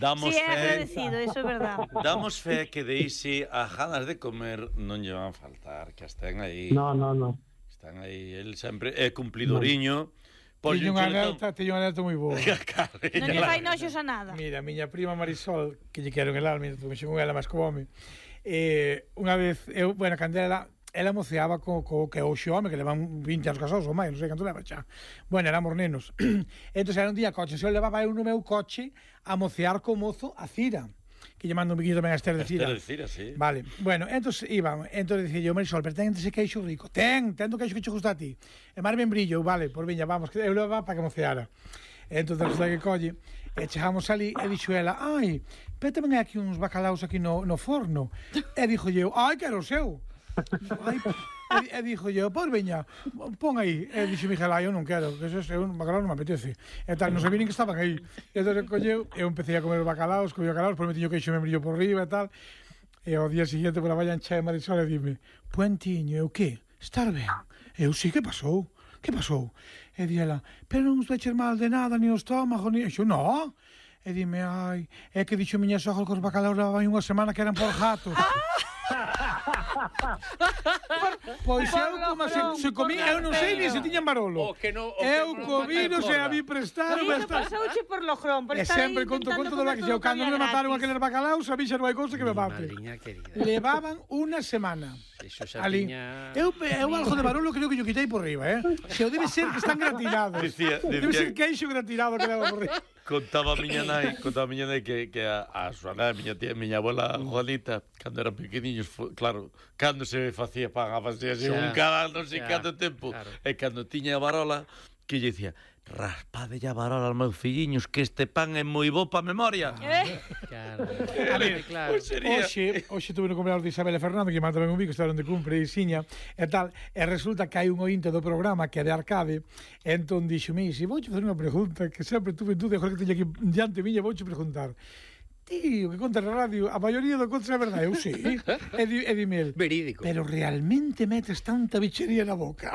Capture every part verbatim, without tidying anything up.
Damos sí, é fe, agradecido, eso é verdade. damos fe que de Isi a ganas de comer non lle van a faltar, que estén aí. No, no, no. Están aí, el sempre é cumplidoriño. No. Teño unha alerta, teño unha alerta moi boa. Non lle fai noxos a nada. Mira, miña prima Marisol, que lle quero en el alma, me xo con ela máis como home. Eh, unha vez, eu, bueno, cando ela, ela moceaba co, co que o home, que levan vinte anos casados ou máis, non sei canto leva xa. Bueno, éramos nenos. Entón, era un día coche, se eu levaba eu no meu coche a mocear co mozo a Cira, que lle mando un biquillo tamén a Esther de Cira. Esther de Cira, sí. Vale, bueno, entón iba, entón dicía yo, Marisol, pero ten ese queixo rico. Ten, ten do queixo que che gusta a ti. E mar ben brillo, vale, por viña, vamos, que eu levaba para que moceara. Entón, resulta que colle, e chegamos ali, e dixo ela, ai, pero tamén hai aquí uns bacalaos aquí no, no forno. E dixo eu, ai, que era o seu. Ai, e, e dixo eu, pois veña, pon aí. E dixo Miguel, ai, eu non quero, que eso é un bacalao non me apetece. E tal, non sabía nin que estaban aí. E entón colleu, eu empecé a comer bacalaos, comía bacalaos, por metiño queixo me brillo por riba e tal. E ao día seguinte, por a valla enché Marisol e dime, Puentiño, eu que? Estar ben? Eu sí, que pasou? Que pasou? E di ela, pero non os veches mal de nada, ni o estómago, ni... E xo, no. E dime, ai, é que dixo miña sogra que os bacalaos levaban unha semana que eran por gatos. Pois eu como se, se comí, eu non sei ni se tiñan barolo. Eu comí, non sei a mí prestar. Iso pasouche por logrón, por e estar aí sempre conto conto do que eu cando me mataron aqueles bacalaos, a mí xa non hai cousa que me mate. Levaban unha semana. Ali. Eu, eu algo de barolo creo que yo quitei por riba, eh? Se o debe ser que están gratinados. Dicía, dicía, debe ser queixo gratinado que leva por riba. Contaba a miña nai, contaba a miña nai que, que a, a súa nai, a miña tía, a miña abuela Juanita, cando eran pequeniños, claro, cando se facía pan, a facer así, un cada non sei canto tempo, claro. E cando tiña a varola, que lle dicía, raspade a varola aos meus filliños, que este pan é moi bo pa memoria. Eh? Claro. A ver, claro. Oxe, oxe tuve no cumpleaños de Isabel e Fernando, que manda ben un bico, estaban de cumpre e Xiña, e tal, e resulta que hai un ointe do programa que é de Arcade, e entón dixo, mi, se vouche fazer unha pregunta, que sempre tuve en dúdida, que teña aquí diante miña, vouche preguntar. Tío, que contas na radio, a maioría do contas é verdade, eu sí. E, di, e dime el, verídico. Pero realmente metes tanta bichería na boca.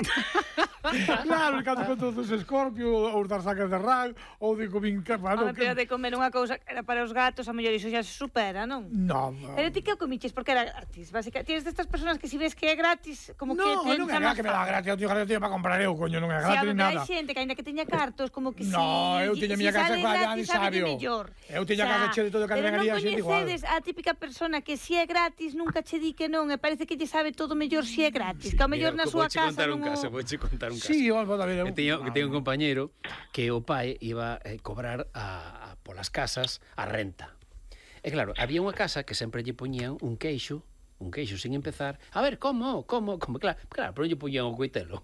Claro, cando conto dos Scorpio, ou das sacas de rag, ou de comín capano. Pero de comer unha cousa que era para os gatos, a mellor iso xa se supera, non? No. Pero ti que o comiches porque era gratis, básicamente. Tienes destas personas que si ves que é gratis, como no, que te non é que me dá gratis, eu teño gratis para comprar eu, coño, non é gratis ni nada. Si, hai xente que ainda que teña cartos, como que si... No, eu teña miña casa para allá, sabio. Eu teña casa che de todo o que ven ali a xente igual. Pero non coñecedes a típica persona que si é gratis nunca che di que non, e parece que lle sabe todo mellor si é gratis, que ao mellor na súa casa non... Vouche contar un caso. Sí, vamos a ver. Que teño, que teño un compañeiro que o pai iba a eh, cobrar a, a, polas casas a renta. E claro, había unha casa que sempre lle poñían un queixo, un queixo sin empezar. A ver, como, como, como, claro, claro, pero lle poñían o coitelo.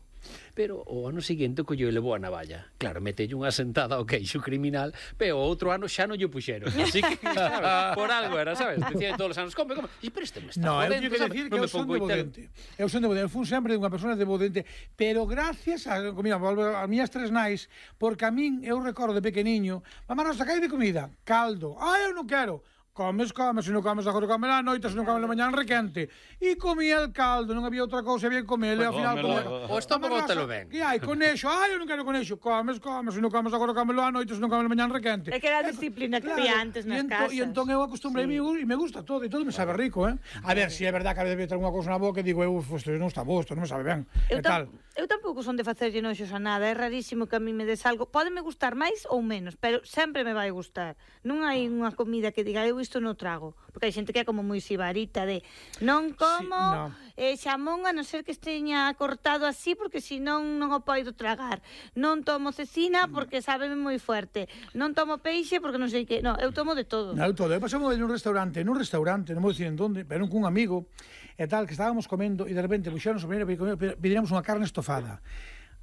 Pero o ano seguinte colleu e levou a navalla. Claro, metelle unha sentada ao queixo criminal, pero o outro ano xa non lle puxeron. Así que, claro, por algo era, sabes? Decía todos os anos, come, come. E pero este me está no, jodendo, eu que decir que eu son de Bodente. Eu son de Bodente. Eu fui sempre unha persona de Bodente, pero gracias a, mira, a miñas tres nais, porque a min, eu recordo de pequeniño, mamá, nos sacai de comida, caldo. Ah, eu non quero. Comes, comes, se non comes agora come na noite, se non comes na mañá requente. E comía el caldo, non había outra cousa, había que comer, e ao final comía. O estómago te lo ven. E hai conexo, ai, eu non quero conexo. Comes, comes, se non comes agora comelo á noite, se non comes na mañá requente. É que era a disciplina que había antes nas casas. E entón eu acostumbrei e me gusta todo, e todo me sabe rico, eh? A ver, se é verdade que a veces ter unha cousa na boca e digo, eu, isto non está bo, isto non me sabe ben. Eu, tam, eu tampouco son de facerlle noxos a nada, é rarísimo que a mí me des algo. Pódeme gustar máis ou menos, pero sempre me vai gustar. Non hai unha comida que diga, eu isto non trago. Porque hai xente que é como moi sibarita de non como sí, no. eh, xamón a non ser que esteña cortado así porque senón non o poido tragar. Non tomo cecina porque sábeme moi fuerte. Non tomo peixe porque non sei que. No, eu tomo de todo. Non, eu todo. Eu pasamos nun restaurante, nun restaurante, non vou dicir en donde, pero cun amigo e tal, que estábamos comendo e de repente puxeron a primeira pediríamos unha carne estofada.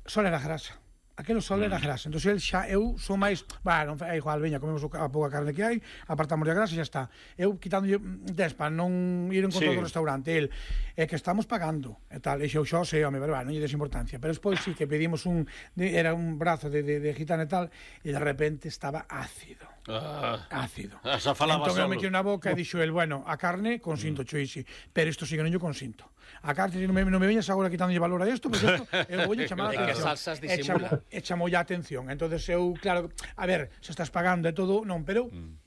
Só era grasa. Aquelo só era grasa. Entón, el xa, eu son máis... Bah, non, é igual, veña, comemos a pouca carne que hai, apartamos a grasa e xa está. Eu quitándolle des para non ir en contra sí. do restaurante. El, é que estamos pagando, e tal. E xo, xo, sei, home, pero, bah, non lle des importancia. Pero despois sí que pedimos un... De, era un brazo de, de, de gitana e tal, e de repente estaba ácido. Ah, ácido. Esa falaba entón, solo. eu me quedei na boca e dixo el, bueno, a carne consinto, mm. choisi, pero isto sí que non yo consinto. A carne non me, non me veñas agora quitándolle valor a isto, porque isto eu vou chamar a atención. É que salsas disimulan. E chamo ya atención. Entonces eu, claro, a ver, se estás pagando e todo, non, pero... Mm.